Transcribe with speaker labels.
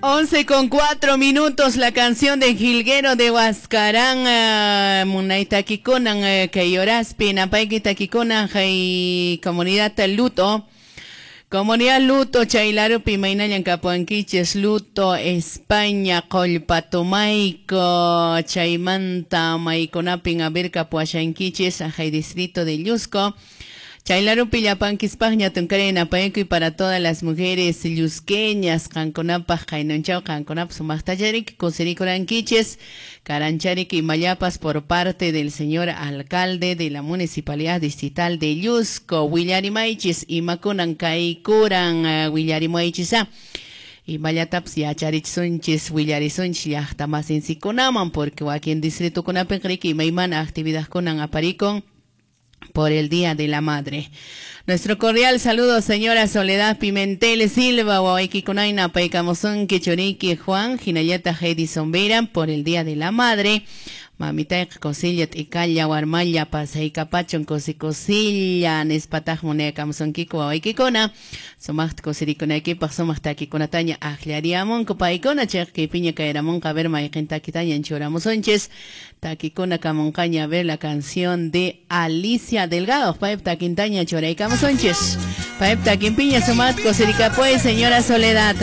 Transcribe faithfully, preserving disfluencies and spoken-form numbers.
Speaker 1: Once con cuatro minutos, la canción de Jilguero de Huascarán, uh, Munaytakikunan, uh, Kayoraspi, Napayki takikunan, hay comunidad Luto. Comunidad Luto, Chaylarupi, Maynallan Kapuanquiches, Luto, España, Qollpatomayko, Chaymanta, Maykunapin, Abirka, Puashanquiches, Ajay Distrito de Llusco. Chaylarupi llapankispaqña tunkarina y para todas las mujeres llusqueñas, qankunapaq qaynunchaw qankunapaq sumaqtacharik kusirikurankichis, karancharik y mayapas por parte del señor alcalde de la Municipalidad Distrital de Llusco, Willarimaychis, imakunan kaykuran willarimaychisa. Y mayataps yacharichsunchis willarisunchis llaqta masinchikkunaman, porque wakin distritokunapin riki imaymana actividadkunan aparikun por el Día de la Madre. Nuestro cordial saludo, señora Soledad Pimentel Silva, Wawaykikunaina, Paykamusunki, Churiki, Juan, Hinayata Heidi Sombera, por el Día de la Madre. Mamita cosilla, tikalla, warmalla, pasaykapachun, cosicosilla, nispataj munaykamusunkiku, wawaykikuna, sumaqta kusirikunaykipaq, sumaq takikunataña akllariamunku, paykuna, chaykipiña kayramunqa, a ver, mayqin takitaña churamusunchis, takikuna kamunqaña, a ver, la canción de Alicia Delgado, payp takintaña churaykamusunchis, payp takinpiña, sumaqta kusirikapuy, señora Soledad.